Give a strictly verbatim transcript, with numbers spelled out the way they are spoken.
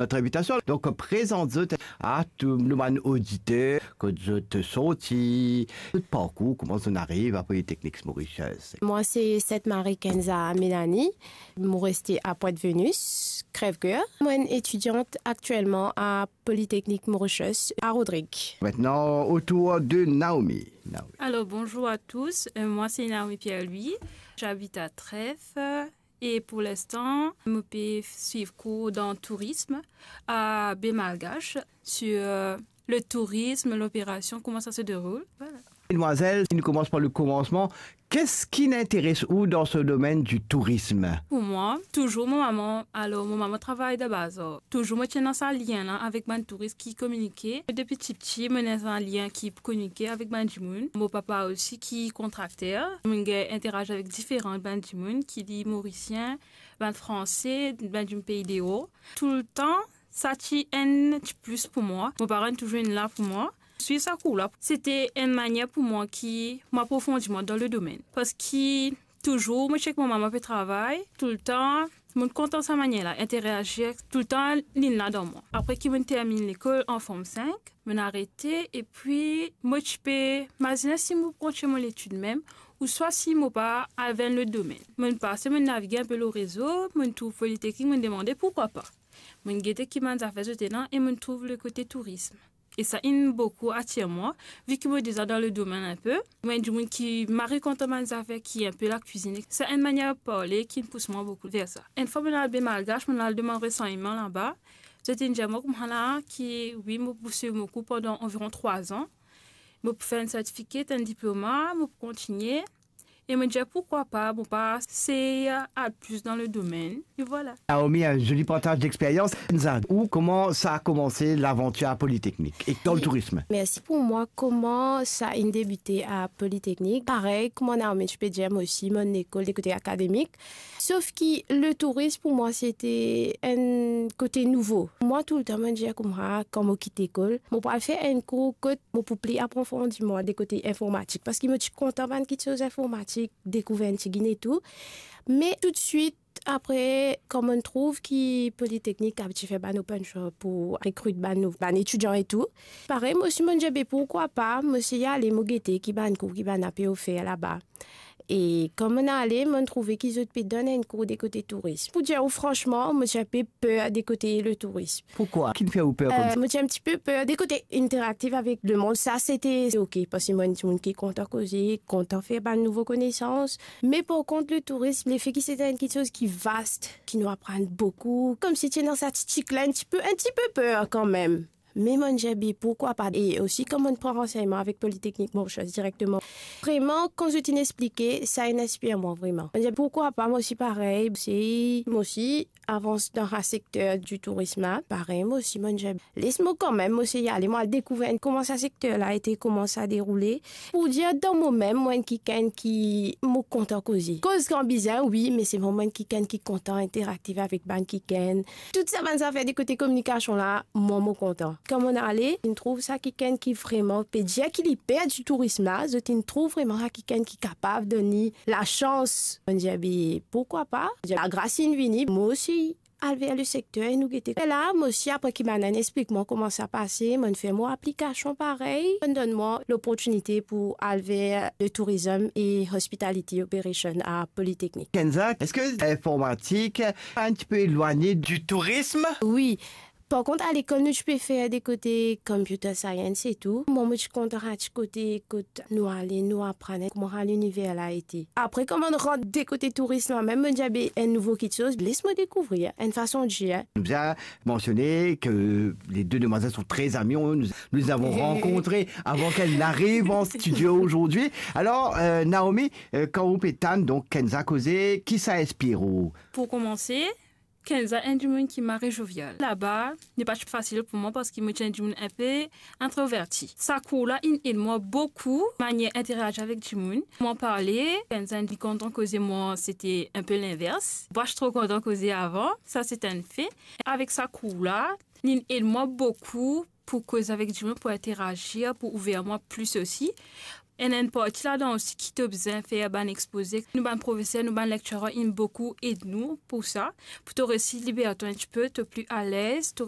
Notre invitation. Donc, présente zot à tout le monde auditeur, kot zot sorti, zot parcours, comment zot ariv à Polytechnique Mauritius. Moi, c'est Sainte-Marie Kenza Mélanie. Mo reste à Pointe-Venus, Crèvecoeur. Moi, étudiante actuellement à Polytechnique Mauritius, à Rodrigues. Maintenant, autour de Naomi. Naomi. Alors, bonjour à tous. Euh, moi, c'est Naomi Pierre-Louis. J'habite à Trèves. Et pour l'instant, mo pe swiv cours dans tourisme à Baie Malgache sur, euh, le tourisme, l'opération, comment ça se déroule. Voilà. Demoiselle, si nou koumans par le commencement, qu'est-ce qui intéresse ou dans ce domaine du tourisme? Pour moi, toujours mon maman, alors mon maman travaille dans bazar. Touzour mo ti ena sa lien la avek bann touris ki kominike. Depi tipti, mo ena sa lien ki kominike avek bann dimoun. Mo papa osi ki kontrakter. Mo gagn interazi avek diferan bann dimoun, ki li Morisien, bann Franse, bann dimoun pei deor. Toultan, sa ti enn ti plis pou mwa. Mo paran touzour inn la pou mwa. Swiv sa kour la, se ti enn manier pou mwa ki mo aprofondi mwa dan le domenn. Parski touzour, mo ti ek mo mama pe travay, toultan, mo kontan sa manier la, interazi, toultan, linn la dan mwa. Apre ki mo terminn lekol an Form Five, mo arete, epi mo ti pe mazine si mo pou kontign mo letid mem, ouswa si mo pa al ver lot domenn. Mo pase, mo navige inpe lor rezo, mo trouv Polytechnique, mo demande, pourquoi pas? Mo gete ki bann zafer zot ena e mo trouv le kote tourism. E sa inn boukou atir mwa, vi ki mo deza dan le domenn inpe. Mo enn dimoun ki mari kontan bann zafer ki inpe lakwizinn. Sa enn manier parle ki inn pous mwa boukou ver sa. Enn fwa mo al Baie Malgache, mo al demann ransegneman laba. Zot inn dir mwa koumsa la ki wi, mo pou swiv mo kour pandan anviron trwa an. Mo pou fer enn sertifika, enn diploma, mo pou kontigne. E mo dir, pourquoi pas, mo pa sey al plis dan le domenn. E vwala. Naomi, un joli partage d'expérience. Kenza, ou, comment ça a commencé l'aventure à Polytechnique et dans le tourisme? Mersi. Pou mwa, kouma sa inn debite a Polytechnique? Parey, kouma Naomi ti pe dir, mwa osi, mo lekol de kote akademik. Sof ki le tourism pou mwa, se ti enn kote nouvo. Mwa, toultan, mo dir koumsa, kan mo kit lekol, mo pou al fer enn kour kot mo pou pli aprofondi mwa de kote informatik, parski mo ti kontan bann kiksoz informatik, dekouver enn tigit e tou. Me toutswit apre, kan mo trouv ki Polytechnique ti fer bann open job pou rekrit bann nou-, bann etidian e tou, parey, mo osi mo dir, be, pourquoi pas, mo sey ale, mo gete ki bann kour ki bann-la pe ofer laba. E kan mo ale, mo trouve ki zot pe donn enn kour de kote tourism. Pou dir ou fransman, mo ti inpe per de kote le tourism. Pourquoi? Ki fer ou per koumsa? Euh, mo ti enn tipe per de kote interaktif avek lemond. Sa, se ti ok, parski mo enn dimoun ki kontan koze, kontan fer bann nouvo konesans. Me par kont, le tourism, lefe ki se enn kiksoz ki vast, ki nou aprann boukou, koumsi ti ena sa ti tik la, enn tipe, enn tipe per kanmem. Me mo dir, be, pourquoi pas? E osi, kan mo pran ransegnman avek Polytechnique Mauritius direkteman, vreman, kan zot inn explike, sa inn inspir mwa vreman. Mo dir, pourquoi pas, mo osi parey, sey mo osi avans dan sa sekter di tourism la. Parey, mo osi, mo dir, les mwa kanmem, mo sey ale, mo al dekouver kouma sa sekter la ete, kouma sa deroule. Pou dir, dan momem, mwa enn kikenn ki mo kontan koze. Koz kan bizin, wi, me se mwa enn kikenn ki kontan interaktif avek bann kikenn. Tout sa bann zafer de kote kominikasion la, mwa, mo kontan. Kan mo ale, inn trouv sa kikenn ki vreman pe dir ki li per di tourism la, zot inn trouv vreman sa kikenn ki kapav donn li lasans. Mo dir, be, pourquoi pas? Lagras inn vini, mo osi al ver le sekter e nou gete. E la, mo osi, apre ki bann-la inn explik mwa kouma sa pase, mo fer mo aplikasion parey, mo donn mwa loportinite pou al ver le tourism e hospitality operation a Polytechnique. Kenza, est-ce que l'informatique est un petit peu éloignée du tourisme? Wi. Par kont, a lekol, nou ti pe fer de kote computer science e tou. Mwa, mo ti kontan sa ti kote kot nou ale, nou aprann kouma sa liniver la ete. Apre, kan mo rant de kote tourism la mem, mo dir, be, enn nouvo kiksoz, les mwa dekouvrir, enn fason dir. Nous a mentionné que les deux demoiselles sont très amies. On- nous, nous les avons rencontrées avant qu'elles n'arrivent en studio aujourd'hui. Alors, euh, Naomi, euh, kan ou pe tann, donk, Kenza koze, ki sa inspir ou? Pou koumanse, Kenza enn dimoun ki mari jovial. Laba, li pa ti fasil pou mwa parski mo ti enn dimoun inpe introverti. Sa kour la inn ed mwa boukou, manier interazi avek dimoun. Mwa parle, Kenza inn kontan koze mwa, se ti inpe linvers. Mwa ti tro kontan koze avan, sa se enn fe. Avek sa kour la, linn ed mwa boukou pou koz avek dimoun, pou interazi, pou ouver mwa plis osi. Enn, enn parti ladan osi ki to bizin fer bann expoze. Nou bann profeser, nou bann lecturer, inn boukou ed nou pou sa, pou to resi liber twa enn tipe, to pli alez, to